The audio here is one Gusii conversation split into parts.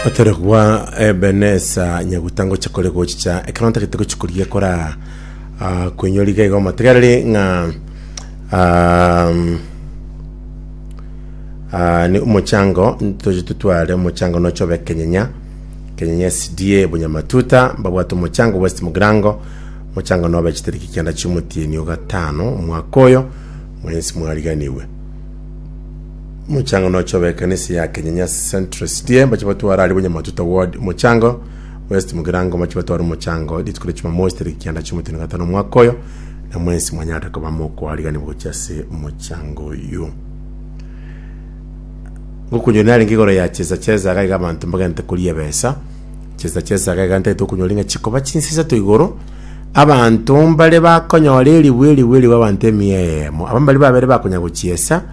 Oteregwa Ebenesa nyaguta ngocha kore gochicha ekero ntagete gochi korigia kora ah, koinyora iga igo amategereri ng'a um, ah, ni omochango ntoche totware omochango noche obe kenyenya kenyenya SDA bunyamatuta mbabwate omochango West Mugirango omochango nobe chitariki kianda chiomotienyi ogatano omwaka oyo mwensi mwariganiwe Omochango noche obe ekanisa ya Kenyenya Central SDA mbache batware aria Bunyamatuta Ward omochango, West Mugirango mbache batware omochango rituko ria Jumamosi tariki kianda chi'omotino gatano omwaka oyo, na mwensi mwanyarete koba mokoariganigwa gochia ase omochango oyio. Ngokunyora narenge igoro ya chesa chesa iga iga abanto mbagente koria ebesa, chesa chesa iga iga ntagete okonyora ng'a chikoba chinsa isato igoro, abanto mbare bakonyora eribu eribu eribu abanto emia eyemo, aba mbari babere bakonya gochiesa,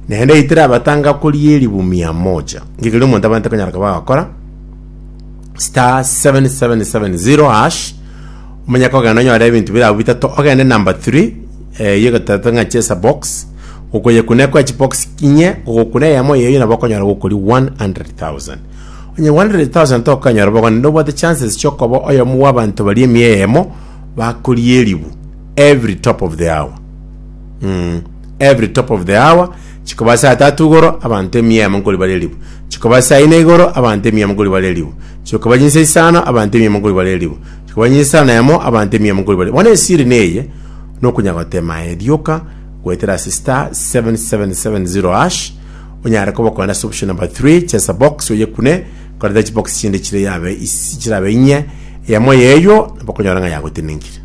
Naende eitire abatanga koria eribu mia moja. Inki keria omonto abwenerete konyara koba agokora? Star 7770 hash omanye kogenda onyore ebinto bire abwo bitato ogende number 3 eyio egotetwa ng'a chesa box okoyekuna ekoe chibox inye ogokuna eyemo eyio nabo okonyora gokoria 100,000 onye 100,000 tokonyora bogo naende obwate chances chiokoba oyomo bwa abanto baria emia eyemo bakoria eribu every top of the hour mm. Every top of the hour, chikoba saa tatu igoro, abanto emia eyemo nkori bare eribu. Chikoba saa ine igoro, abanto emia eyemo nkori bare eribu. Chikoba chinsa isano, abanto emia eyemo nkori bare eribu. Chikoba chinsa isano na emo, abanto emia eyemo nkori bare. Bono esiri neye, nokonya gotema aye rioka, goetera ase star 7770 hash, onyare koba okogenda ase option number 3, chesa box oyekune, koreta chibox chinde chire yabe isi chirabe inye, eyemo yeywo, nabo okonyora ng'a yagotenenkire.